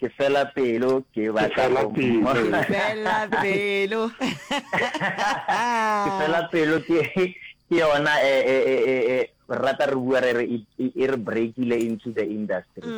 Ke fela pelo ke Ke batla fela go pelo. mmona. Fela pelo. Ke fela pelo ke ke yona e e e e e rata re bua re re e e re breakile into the industry.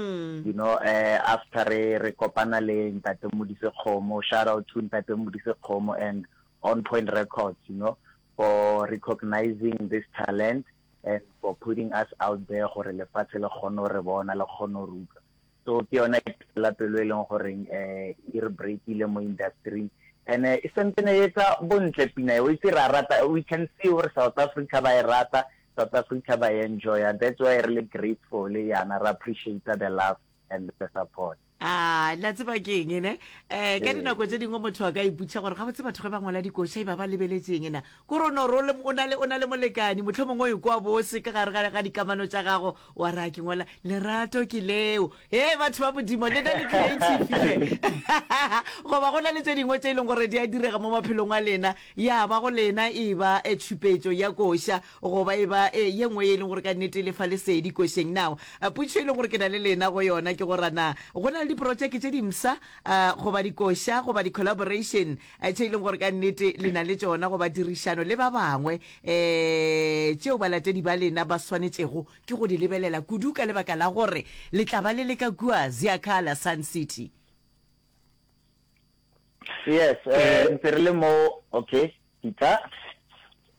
You know eh after re re kopana le Ntate Modise Kgomo, shout out to Ntate Modise Kgomo and On Point Records, you know, for recognizing this talent and for putting us out there gore lefatshe le kgone go re bona le kgone go re utlwa. So ke yona la pelo e leng goreng eh e re breakile mo industry and e santsene e etsa bontle pina e o itse ra rata we can see gore South Africa ba e rata South Africa ba e enjoya that's why re le grateful yana re appreciate the love and the support. A la tseba ke eng ne? Eh ka dinako tse dingwe motho a ka iputša gore gabotse batho ge ba ngwala dikoša e ba ba lebeletšeng na? Kore o no re o na le o na le molekani mohlomongwe o ikwa bose ka gare ga ga dikamano tša gago wa re a ke ngwala lerato ke leo. He batho ba Modimo le na le creative hle. Goba go na le tše dingwe tše e leng gore di a direga mo maphelong a lena ya ba go lena e ba tšhupetšo ya koša goba e ba e, ye nngwe ye e leng gore ka nnete e le fa lesedi košeng. Now, potšišo e leng gore ke na le lena go yona ke gore na go na le diprotšeke tše dimpsha uh, goba dikoša goba di-collaboration uh, tše e leng gore ka nnete le na le tšona goba dirišano le ba bangwe um tšeo balatedi ba lena ba swanetšego ke go di lebelela kudu ka lebaka la gore le tla ba le le ka kua Ziakala Sun City. Yes, eh, ntse re le mo, okay, Peter.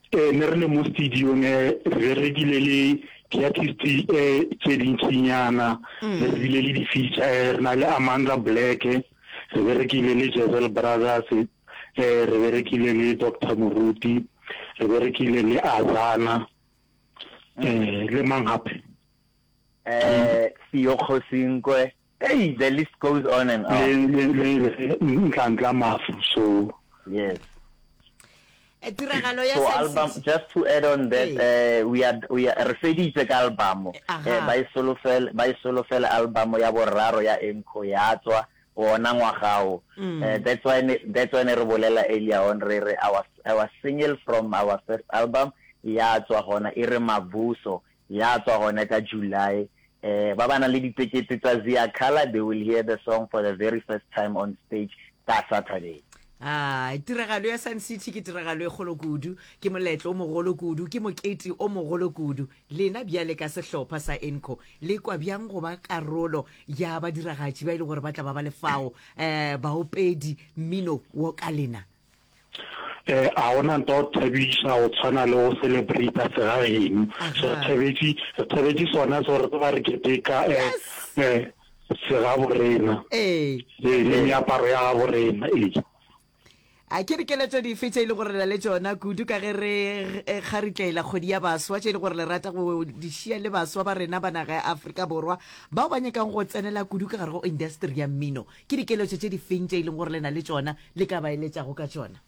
Eh, ne re le mo studio-ng eh, re berekile le di-artist eh, tše dintšinyana, mm. re bile le di-feature eh, re na le Amanda Black, re berekile le Jezel Brothers, eh, re berekile le Doctor Moruti, re berekile le Azana, mm. eh, le mang gape? Eh, Theo Kgosinkwe. Hey, the list goes on and on. Le, le, le, le Ntlantla Mafu, so. Yes. Eh, tiragalo ya So album, just to add on that, uh, we are, we are, re feditse ka album. Eh, ba e solofela, ba e solofela album ya boraro ya Enco ya tswa wona ngwaga o. Mm. Eh, that's why ne, that's why ne re bolela earlier on re re our, our single from our first album ya tswa gona e re Mavuso Ya tswa gone ka July. Eh, ba ba nang le ditekete tsa Ziyakhala, they will hear the song for the very first time on stage ka Saturday. A tiragalo ya Sun City ke tiragalo e kgolo kudu, ke moletlo o mogolo kudu, ke mokete o mogolo kudu. Lena bjale ka sehlopha sa Enco, le kwa bjang go ba karolo ya badiragatši ba e le gore ba tla ba ba le fao, eh, baopedi mmino wo ka lena? Eh, a gona nto go thabiša go tshwana le go celebrata segageno. So re thabetše, re thabetše sona so re tseba re keteka eh, eh, segabo rena. Ee. Ee, le meaparo ya gabo rena, ee. A ke dikeletšo dife tše e le gore le na le tšona kudu ka ge re kgaritlela kgwedi ya baswa tše e le gore le rata go di šia le baswa ba rena ba naga ya Afrika Borwa bao ba nyakang go tsenela kudu ka gare go industry ya mmino? Ke dikeletšo tše difeng tše e leng gore le na le tšona le ka ba eletšago ka tšona?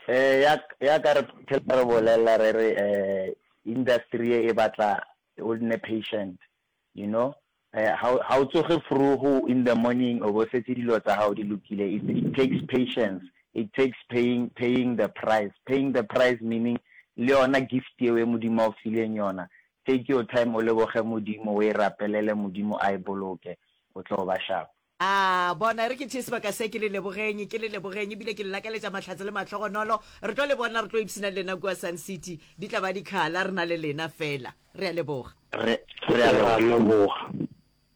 Eh, ya, ya ka re phela re bolela re re eh, industry ye e batla o nne patient, you know. Eh, ha ha o tsoge vroeg in the morning o bo setse dilo tsa gago di lokile. It, it takes patience. It takes paying, paying the price. Paying the price meaning le yona gift eo e Modimo a o fileng yona. Take your time o leboge Modimo, o e rapelele Modimo a e boloke. O tlo ba sharp. A bona, e re ke tšee sebaka se ke le lebogeng, ke le lebogeng, ebile ke le lakaletša mahlatse le mahlogonolo. Re tlo le bona, re tlo ipshina le lena kua Sun City. Di tla ba dikhala re na le lena fela. Re a leboga. Re, re a leboga.